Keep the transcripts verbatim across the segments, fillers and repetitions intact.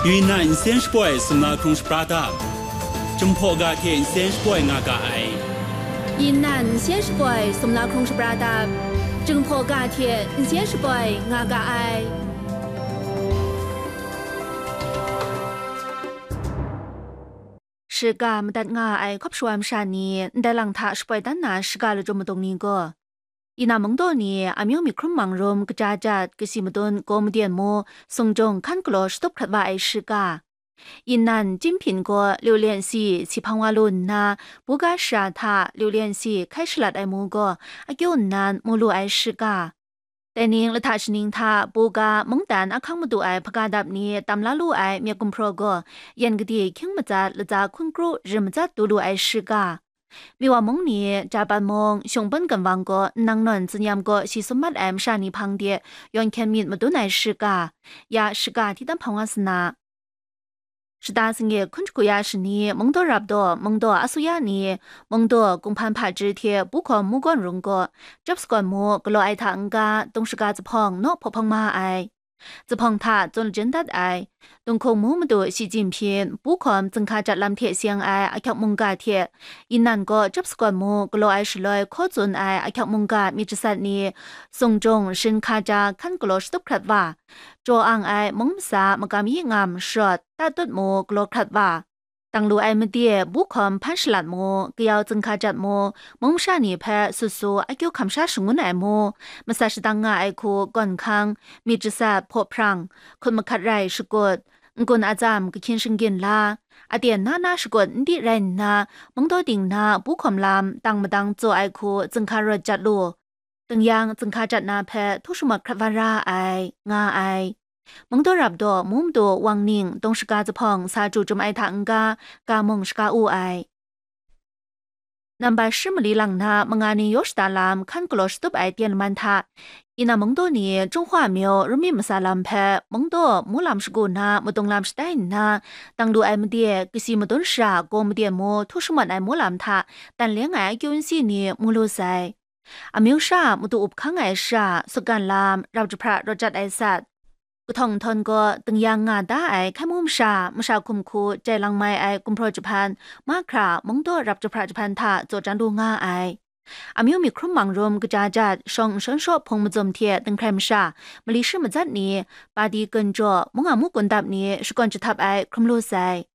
Yunnan nsen shapoi sumla hkrung shapra dap, Jinghpaw ga hte nsen shapoi nga ga ai. Yunnan nsen shapoi sumla hkrung shapra dap, Jinghpaw ga hte nsen shapoi nga ga ai. Shiga madat nga ai hkawp shawa masha ni ndai lang hta shapoi dan na shiga lachyum madung ni gaw, Yunnan mungdaw ni amyu myi hkrum mang rum kaja jat, kasi madun gaw maden mu, sung jung hkan galaw shatup hkrat wa ai shiga. Yunnan Jinghpin gaw liu lian si si hpang wa lu nna, buga shara hta liu lian si hkai shalat ai mu gaw akyu nnan mu lu ai shiga. Dai ning lahta shaning hta buga mungdan ahkang madu ai hpaga dap ni tam la lu ai myit gumhpraw gaw, yan gade hkying matsat latsa hkun kru rim matsat du lu ai shiga. Miwa mung ni Japan mung shungpan ginwang gaw nnang nawn tsinyam gaw shi sum mat ai masha ni hpang de yawn hkyen myit madun ai shiga, ya shiga hti tam hpang wa sa na. Shata singye hkun shagu ya shani, mungdaw rap daw, mungdaw asuya ni, mungdaw kunghpan hpaji hte buhkawm mu gawn rung gaw, chyap sagawn mu galaw ai hta n-ga, dung shaga zuphpawng naw hpaw hpang ma ai. Zuphpawng hta tsun lajin dat ai, dunghkung mu madu shi jin hpyin, buhkawm zinghka jat lam hte seng ai ahkyawk mungga hte, Yunnan gaw chyap sagawn mu galaw ai shaloi hkaw tsun ai ahkyawk mungga myit jasat ni, sung jung shin hka ja hkan galaw shatup hkrat wa, jaw ang ai mung masa magam yi ngam sharawt, tatut mu galaw hkrat wa, dang lu ai made buhkawm hpan shalat mu, kayau zinghka jat mu, mung masha ni hpe sut su akyu hkam sha shangun ai mu, masat shadang nga ai hku gawn hkang, myit jasat hpaw hprang, hkut mahkat rai shakut, n-gun atsam kahkyin shinggyin la, aten na na shakut n di rai nna, mungdaw ting na buhkawm lam dang madang tsaw ai hku zinghka rawt jat lu, ding yang zinghka jat na hpe htu shamawt hkrat wa ra ai, nga ai. Mungdaw rap daw mu madu wang ning dung shaga zuphpawng sa chyu chyum ai hta n-ga, ga mung shaga u ai. Nambat shi mali lang na manga ni yaw shada lam hkan galaw shatup ai tyen laman hta, Yunnan mungdaw ni Jinghpaw myu rum myit masa lam hpe mungdaw mu lam shagu na madung lam shatai nna, dang lu ai made kasi madun shara gaw maden mu htu shamawt ai mu lam hta, tan leng ai akyu n si ni mu lu sai. Amyu sha madu up hkang ai sha, sutgan lam, rap jahpra rawt jat ai sat, kahtawng nhtawng gaw ding yang nga da ai hkai mu masha, masha hkum hku jai lang mai ai gumhpraw jahpan, mahkra mungdaw rap jahpra jahpan hta tsaw chyan lu nga ai. Amyu myi hkrum mang rum kaja jat, shawng nshawn shaw hpung mazum hte dinghkrai masha, mali shi matsat ni, padi gun jaw, mung a mu kun dap ni shakawn jahtap ai hkrum lu sai.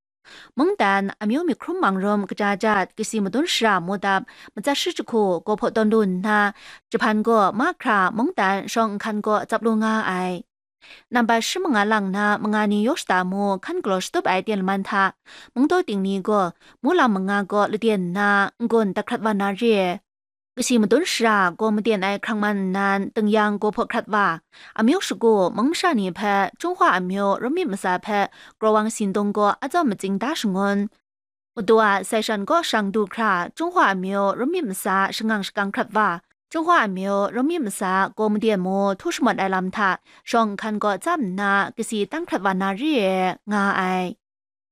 Mungdan, amyu myi hkrum mang rum kaja jat, kasi madun shara mu dap, matsat shi jahku gaw hpaw tawn lu nna, jahpan gaw mahkra mungdan shawng nhkan gaw tsap lu nga ai. Nambat shi manga lang na manga ni yaw shada mu hkan galaw shatup ai tyen laman hta, mungdaw ting ni gaw mu lam manga gaw laden nna n-gun dat hkrat wa na re. Kasi madun shara gaw maden ai hkrang man nnan, ding yang gaw hpaw hkrat wa, amyu shagu mung masha ni hpe Jinghpaw amyu rum myit masa hpe grawng sindung gaw atsawm matsing da shangun. Madu a sai shan kaw shang du hkra, Jinghpaw amyu rum myit masa shangang shakang hkrat wa, Jinghpaw amyu rum myit masa gaw maden mu htu shamawt ai lam hta shawng nhkan gaw tsap nna kasi tan hkrat wa na re nga ai.